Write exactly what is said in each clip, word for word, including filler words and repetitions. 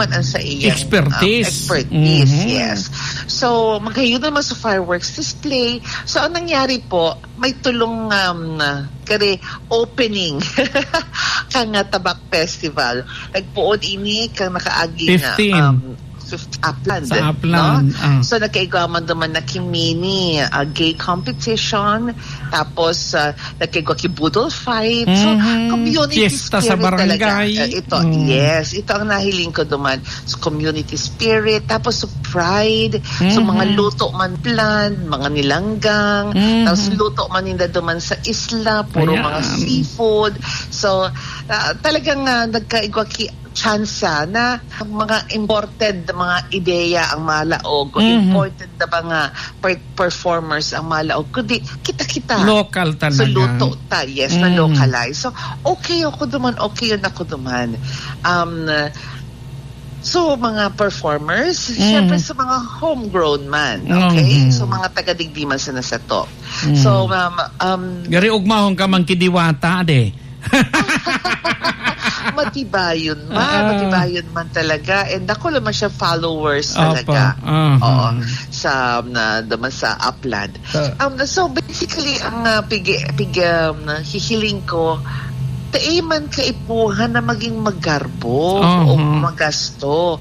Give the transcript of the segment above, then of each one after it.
man ang sa iyang, um, Expertise. expertise, Mhm. yes. So, magayon naman sa fireworks display. So, ang nangyari po, may tulong, um, kare opening kan, ah, Tabak Festival. Nagpoon ini kan nakaaging, ah, Fifteen. um, fifth Upland, Sa Upland, no? ah. So, nagkaigwa man duman na ki mini, ah, gay competition, tapos, ah, nagkaigwa ki boodle fight. So, Mhm. community Fiesta sa spirit talaga. barangay. Ah, ito, Mm. yes, ito ang nahiling ko duman. So, community spirit, tapos so pride, so mga Mhm. luto man plan, mga nilanggang, Mhm. tapos luto man ninda duman sa isla, puro mga Ayan. seafood. So, ah, talagang, ah, nagkaigwa ki tsansa na mga imported na mga ideya ang malaog o Mhm. imported na mga per-, performers ang malaog, kundi kita-kita. Local So, talaga. luto ta, yes, na Mhm. localize. So, okay ako duman, okay yun ako duman. Um, so, mga performers, Mhm. syempre sa mga homegrown man, okay? Mhm. So, mga taga-digdi man sana sato. Mhm. So, um, um, Gari ugmahon ka man ki Diwata, de. Matibayon man, Ah. matibayon man talaga. And dako naman siya followers Opo. talaga. Aha. Oo. Sa, um, na, naman sa Upland. Ah. Um, so, basically, ang, ah, pigi-, pigi-, um, hihiling ko, tae man kaipuhan na maging magarbo Aha. o magasto.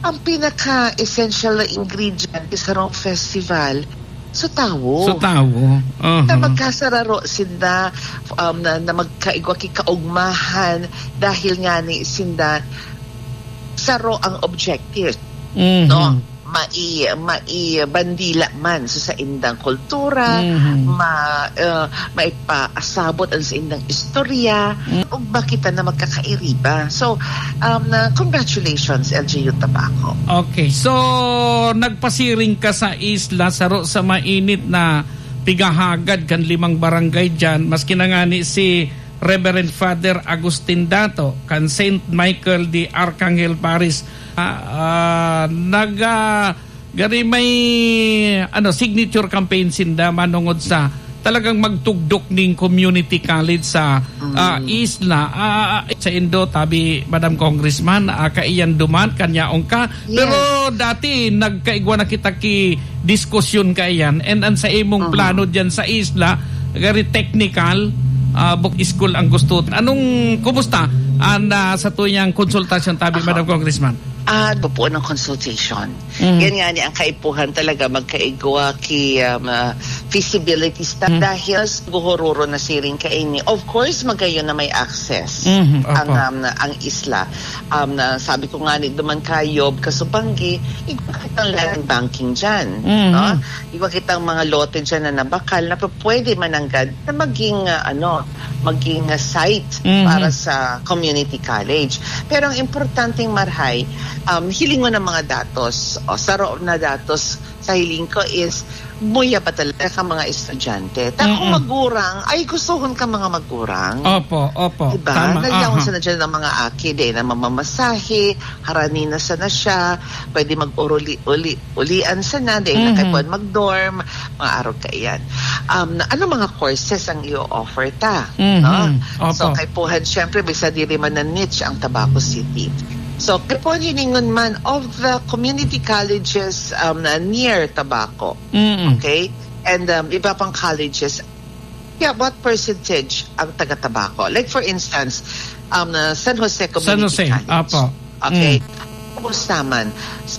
Ang pinaka-essential na ingredient sa sarong festival, sa tawo. Sa tawo. Aha. Na magkasararo sinda, um, na, na magkaigwa ki kaugmahan dahil nga ni sinda saro ang objective, Mhm. no? Mai-, maibandila man sa saindang kultura, Mhm. ma-, uh, maipaasabot ang saindang istorya, Mm. ugma kita na magkakairiba. So, um, na, congratulations, L G U Tabaco. Okay, so nagpasiring ka sa isla, saro sa mainit na pigahagad kan limang barangay diyan, maski na ngani si Reverend Father Agustin Dato kan Saint Michael de Arcangel Parish, ah, ah, nag, ah, gari may, ano, signature campaign sinda manongod sa talagang magtugdok ning community college sa, Mm. ah, isla. Ah, ah, sa indo, tabi, Madam Congressman, ah, kaiyan duman, kanyaon ka. Yes. Pero dati, nagkaigwa na kita ki diskusyon kaiyan. And ang sa imong Mhm. plano diyan sa isla, gari technical, ah, book school ang gusto. Anong, kumusta ang, ah, sa tuyang konsultasyon, tabi, Aha. Madam Congressman? Ah, bubuo ng consultation. Mhm. Yan nga ni ang kaipuhan talaga magkaigwa ki, um, ah, feasibility study Mhm. dahil sa guhururo na siring kaini. Of course, magayon na may access Mhm, ang, opo. um, ang isla. Um, na sabi ko nga ni duman kayo, kasubanggi, igwa kitang land banking dyan, Mhm. no? Igwa kitang mga lote dyan na nabakal na pwede mananggad na maging, ah, ano, maging, ah, site Mhm. para sa community college. Pero ang importanteng marhay, um, hilingon ang mga datos. O, saro na datos sa hiling ko is muya pa talaga ka mga estudyante. Ta kung Mm-mm. magurang, ay gustuhon ka mga magurang. Opo, opo. Diba? Tama, Nagyaon aha. sana dyan ng mga aki, di na mamamasahe, harani na sana siya, pwede mag-uli-uli, ulian sana, di na Mhm. kaipuhan mag-dorm, mga arog kaiyan. Um, ano mga courses ang i-offer ta? Mhm. No? Opo. So, kaipuhan, syempre, bisa diri man na niche ang Tabaco City. So, kaipuhan hiningon man of the community colleges, um, na near Tabaco. Mm. Okay? And, um, iba pang colleges. Yeah, what percentage ang taga Tabaco? Like, for instance, um, uh, San Jose Community San Jose, College. Apo. Okay. Mm. Kumusta man?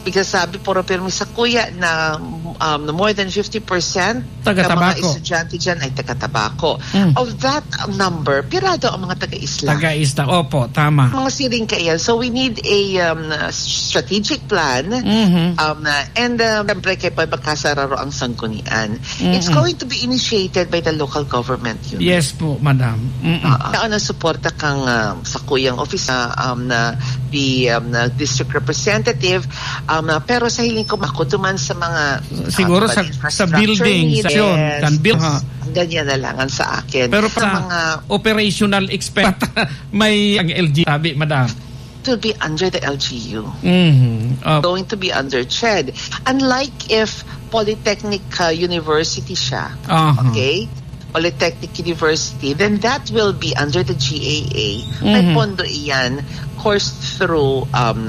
Because sabi, puro pirmi sa kuya na, um, more than fifty percent Taga ng mga Tabaco. estudyante dyan ay taga Tabaco. Mm. Of that number, pirado ang mga taga-isla. Taga-isla. Opo, tama. Mga siring kaiyan. So, we need a, um, strategic plan. Mhm. Um, uh, and, um, siyempre, kay pa magkasararo ang sanggunian. It's Mm-mm. going to be initiated by the local government unit. Yes po, madam. Mm-mm. Oo. Tao na suporta kang, ah, sa kuyang office na, um, na the, um, na district representative, um, na, pero sa hiling ko, makutuman sa mga, Siguro ah, sa, sa infrastructure building, sa needs. Yun, Yes. kan build, ha? Ang ganyan na lang ang sa akin. Pero Sa sa mga operational expense, may ang L G, sabi, madam. It will be under the L G U. Mhm. Opo. Going to be under CHED. Unlike if Polytechnic, uh, University siya, Aha. okay? Polytechnic University, then that will be under the G A A. May Mhm. pondo iyan, coursed through, um,